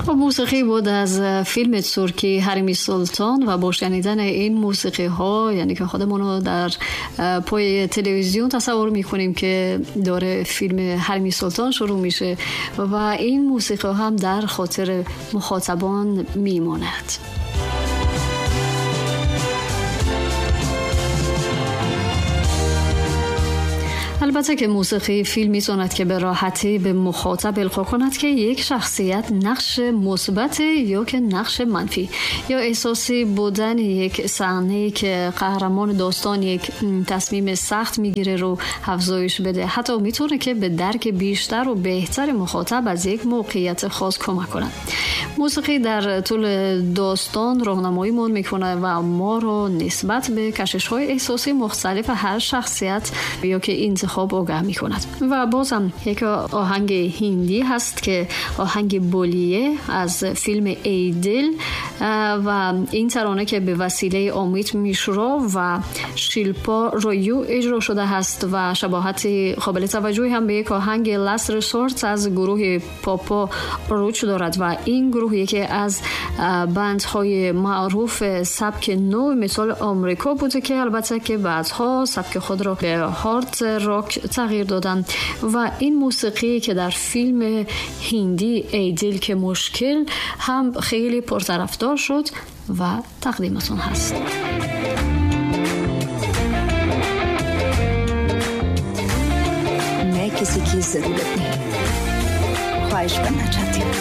خب موسیقی بود از فیلم ترکی حریم سلطان و با شنیدن این موسیقی ها یعنی که خودمون رو در پای تلویزیون تصور میکنیم که داره فیلم حریم سلطان شروع میشه و این موسیقی هم در خاطر مخاطبان میماند. البته که موسیقی فیلم می‌تواند که به راحتی به مخاطب القا کند که یک شخصیت نقش مثبت یا که نقش منفی یا احساسی بودن یک صحنه که قهرمان داستان یک تصمیم سخت میگیره رو افزایش بده. حتی میتونه که به درک بیشتر و بهتر مخاطب از یک موقعیت خاص کمک کند. موسیقی در طول داستان راهنماییمون میکنه و ما رو نسبت به کشش‌های احساسی مختلف هر شخصیت یا که انتخاب آگاه میکند. و بازم یک آهنگ هندی هست که آهنگ بولیه از فیلم ایدل و این ترانه که به وسیله آمیت میشرا و شیلپا رویو اجرا شده هست و شباهت قابل توجهی هم به یک آهنگ لاست ریسورت از گروه پاپا روچ دارد و این گروه یکی از بندهای معروف سبک نو مثال آمریکا بوده که البته که بعدها سبک خود را به هارد راک تغییر دادن و این موسیقی که در فیلم هندی ایدل که مشکل هم خیلی پرطرفدار شد و تقدیمتون هست. मैं किसी की जरूरत नहीं, ख्वाहिश बनना चाहती हूँ.